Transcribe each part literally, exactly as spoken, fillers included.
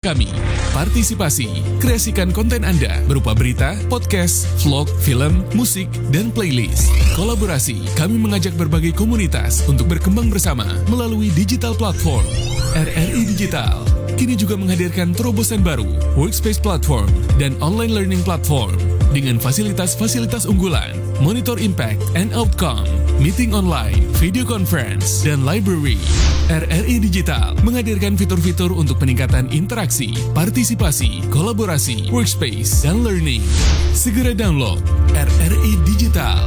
kami. Partisipasi, kreasikan konten Anda berupa berita, podcast, vlog, film, musik, dan playlist. Kolaborasi, kami mengajak berbagai komunitas untuk berkembang bersama melalui digital platform. R R I Digital kini juga menghadirkan terobosan baru, Workspace Platform dan Online Learning Platform dengan fasilitas-fasilitas unggulan, monitor impact and outcome, meeting online, video conference, dan library. R R I Digital menghadirkan fitur-fitur untuk peningkatan interaksi, partisipasi, kolaborasi, workspace, dan learning. Segera download R R I Digital.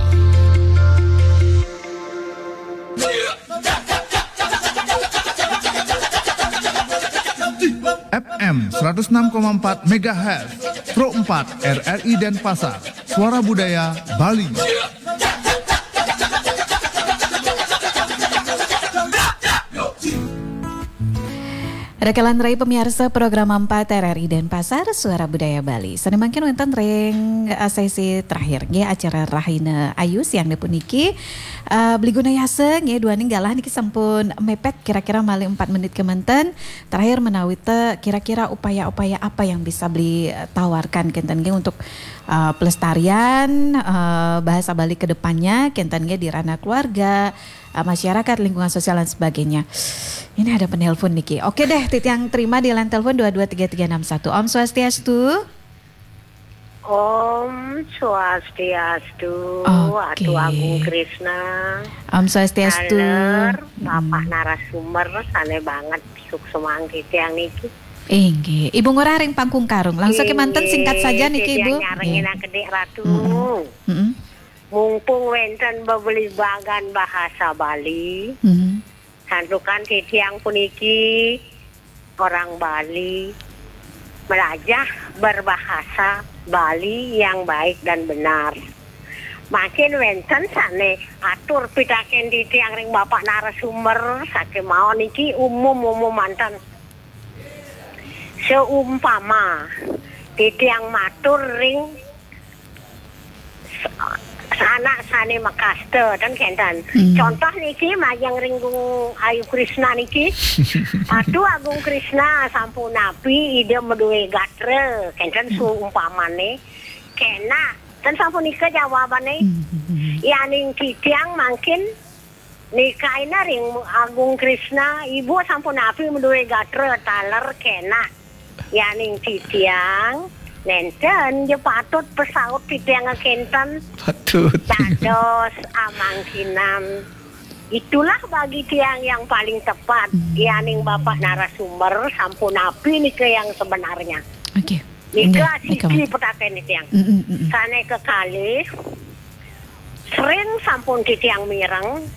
F M seratus enam koma empat megahertz, Pro empat R R I Denpasar, Suara Budaya Bali. Rakalan rai pamiarsa program empat R R I Denpasar, Suara Budaya Bali. Sané mangkin wénten ring eh, sesi terakhir nggih acara Rahina Ayu siang puniki. Eh, Beli Gunayasa nggih duaning galah niki sampun mepet kira-kira malih empat menit kemanten. Terakhir menawi te kira-kira upaya-upaya apa yang bisa Beli eh, tawarkan kenten nggih untuk eh, pelestarian eh, bahasa Bali ke depannya kenten nggih di ranah keluarga, eh, masyarakat, lingkungan sosial dan sebagainya. Ini ada penelpon niki. Oke deh, titiang terima di line telepon dua dua tiga tiga enam satu. Om Swastiastu. Om Swastiastu, Oke. Atu Agung Krisna. Om Swastiastu. Taler, Mm. Bapak narasumber, sané banget suksemang titiang niki. Inggih, Ibu Ngurah ring Pangkung Karung. Langsung kemanten singkat saja niki Ibu. Nyarengin Nggih. Adik Ratu. Mm-mm. Mm-mm. Mumpung wénten bebelimbangan bahasa Bali, Mm-mm. santukan titiang puniki orang Bali melajah berbahasa Bali yang baik dan benar. Makin wénten sané atur pitakén titiang ring Bapak narasumber sakémaon niki umum-umum manten. Seumpama titiang matur ring sa- sanak sané makasta ten kenten. Hmm. Contoh niki majeng ring Gung Ayu Krisna niki. Atu Agung Krisna sampunapi Ida madué gatra kenten seumpamané. Kénak ten sampunika jawabané. Mm-mm. Yaning titiang mangkin nikaina ring Agung Krisna, Ibu sampunapi madué gatra taler kénak. Yaning titiang nénten ja patut pasaut titiang kenten Patut. dados amangkinan. Itulah bagi tiang yang paling tepat. Yaning Bapak narasumber sampunapi nika yang sebenarnya. Oke. Nika Inggih, nika siki mah. Petaken titiang. Mm-mm, mm-mm. Sané kekalih, sering sampun titiang mireng.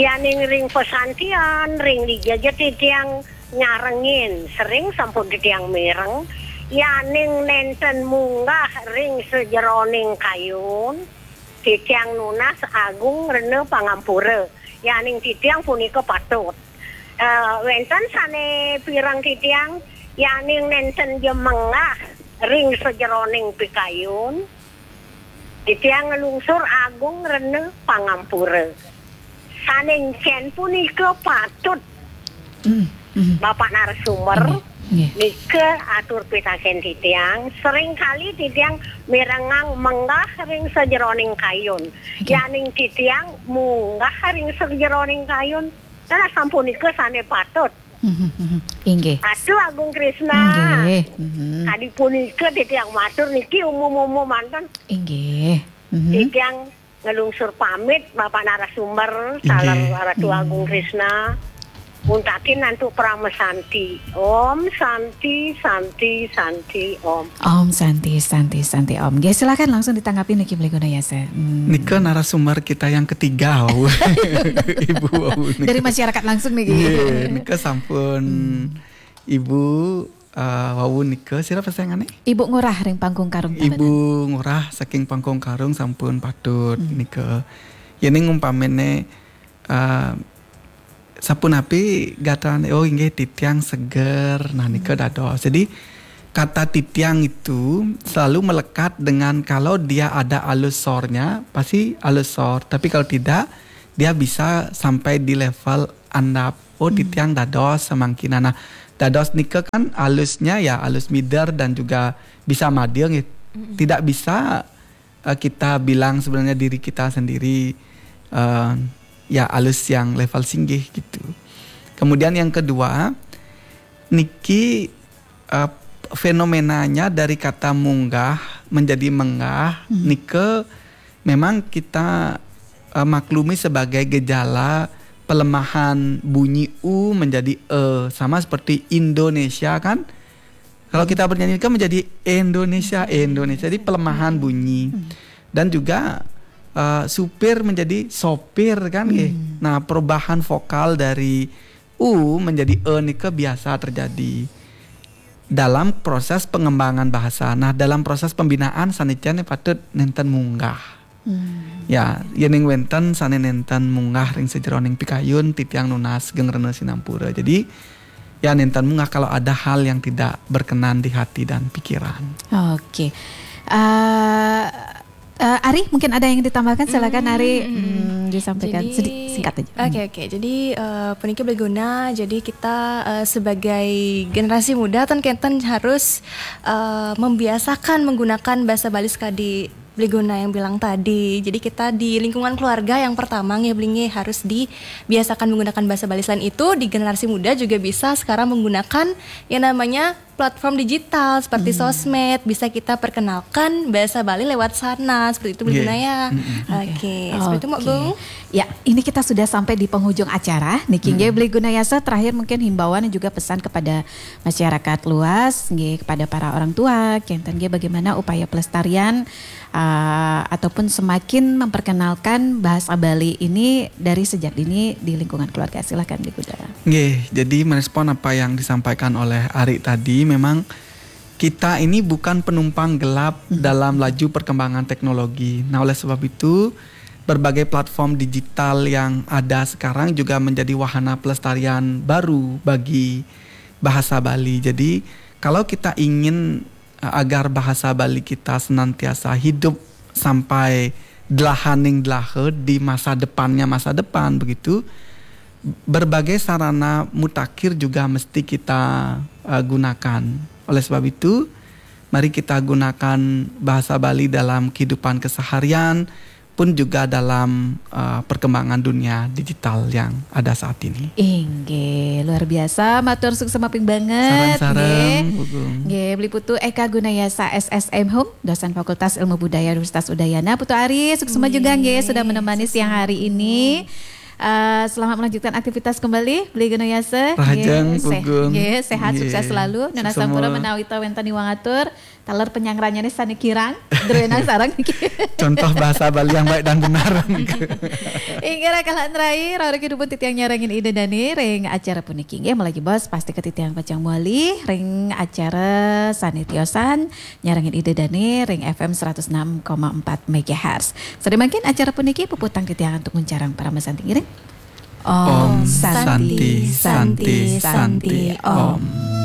Yaning ring pesantian, ring dija ja titiang nyarengin, sering sampun titiang mireng. Yaning nénten munggah ring sajeroning kayun, titiang nunas agung rena pangampura. Yaning titiang punika patut. Eh, wénten sané pireng titiang, yaning nénten ja menggah ring sajeroning pikayun, titiang nglungsur agung rena pangampura. Sané encén punika patut Mm, mm. Bapak narasumber Nggih. nika atur pitakén titiang, sering kali titiang mirengang menggah ring sajeroning kayun. Nggih. Yaning titiang munggah ring sajeroning kayun, salah sampunika sané patut. Mm-mm, mm-mm. Inggih. Atu Agung Krisna. Nggih. Mm-mm. Kadi punika titiang matur niki umum-umum manten. Inggih. Mm-mm. Titiang nglungsur pamit Bapak narasumber, Inggih. Salar Ratu Agung Krisna. Muntakin antuk parama santi. Om Santi, Santi, Santi, Om. Om Santi, Santi, Santi, Om. Nggih, silakan langsung ditanggapi niki Beli Gunayasa. Hmm. Nika narasumber kita yang ketiga, wau. Ibu wau nika. Dari masyarakat langsung niki. Nggih, nika sampun Ibu eh, wau nika, sira pesengané? Ibu Ngurah ring Pangkung Karung Tabanan. Ibu Ngurah saking Pangkong Karung sampun patut nika. Yéning umpamine eh, sapunapi gatrané, oh inggih titiang seger. Nah, nika dados. Jadi kata titiang itu selalu melekat dengan kalau dia ada alus sornya, pasti alus sor. Tapi kalau tidak, dia bisa sampai di level andap. Oh, titiang dados samangkinan. Nah, Dados nika kan alusnya ya alus mider dan juga bisa madeng gitu. Tidak bisa uh, kita bilang sebenarnya diri kita sendiri uh, ya alus yang level singgih gitu. Kemudian yang kedua, niki uh, fenomenanya dari kata munggah menjadi menggah, hmm. Nika memang kita uh, maklumi sebagai gejala pelemahan bunyi u menjadi e, sama seperti Indonesia kan. Kalau kita bernyanyi kan menjadi Indonesia, Indonesia. Jadi pelemahan bunyi. Dan juga uh, supir menjadi sopir kan, hmm. Nah, perubahan vokal dari u menjadi e nika biasa terjadi dalam proses pengembangan bahasa. Nah, dalam proses pembinaan sanicane patut nenten munggah. Hmm. Ya, yening wenten sane nenten munggah ring sejeroning pikayun, titiang nunas geng rena sinampura. Jadi, ya nenten munggah kalau ada hal yang tidak berkenan di hati dan pikiran. Oke. Uh, uh, Ari, mungkin ada yang ditambahkan, silakan Ari. Hmm, disampaikan. Jadi, sedikit, singkat aja. Oke, oke. Jadi uh, puniki bliguna. Jadi kita uh, sebagai generasi muda ten kenten harus uh, membiasakan menggunakan bahasa Bali sekadi bliguna yang bilang tadi. Jadi kita di lingkungan keluarga yang pertama nggih beli nggih harus dibiasakan menggunakan bahasa Bali. Selain itu di generasi muda juga bisa sekarang menggunakan yang namanya platform digital seperti hmm. sosmed, bisa kita perkenalkan bahasa Bali lewat sana, seperti itu bliguna ya. Oke, okay. Okay. Seperti itu Mbak Gung. Ya, ini kita sudah sampai di penghujung acara. Niki nggih bliguna yasa, terakhir mungkin himbauan dan juga pesan kepada masyarakat luas nggih, kepada para orang tua, kenten nggih bagaimana upaya pelestarian uh, ataupun semakin memperkenalkan bahasa Bali ini dari sejak dini di lingkungan keluarga. Silakan Bliguna. Nggih, jadi merespon apa yang disampaikan oleh Ari tadi, memang kita ini bukan penumpang gelap hmm. dalam laju perkembangan teknologi. Nah, oleh sebab itu berbagai platform digital yang ada sekarang juga menjadi wahana pelestarian baru bagi bahasa Bali. Jadi kalau kita ingin uh, agar bahasa Bali kita senantiasa hidup sampai delahaning delaha di masa depannya masa depan begitu, berbagai sarana mutakhir juga mesti kita uh, gunakan. Oleh sebab itu, mari kita gunakan bahasa Bali dalam kehidupan keseharian pun juga dalam uh, perkembangan dunia digital yang ada saat ini. Inggih, luar biasa. Matur suksma ping banget. Sareng-sareng, Bu Gung. Nggih, Bli Putu Eka Gunayasa S S M Hum, dosen Fakultas Ilmu Budaya Universitas Udayana. Putu Ari, suksma juga nggih sudah menemani siang hari ini. Uh, selamat melanjutkan aktivitas kembali, Bli Gunayasa. Rahajeng, Bu Gung. Nggih, sehat, sukses selalu. Nunas sampura menawi wenten iwang atur. Taler penyangrannya nih sane kirang, druenang sareng. Contoh bahasa Bali yang baik dan benar. Inggih raka lan rai, rauh kedupun titiang nyarengin Ida Dane ring acara puniki. Nggih, malih jebos pasti ke titiang pacang muali ring acara sane tiosan nyarengin Ida Dane ring F M seratus enam koma empat megahertz. Sare mangkin acara puniki puputang titiang antuk nguncarang parama santi ngiring. Om Santi, Santi, Santi, Om.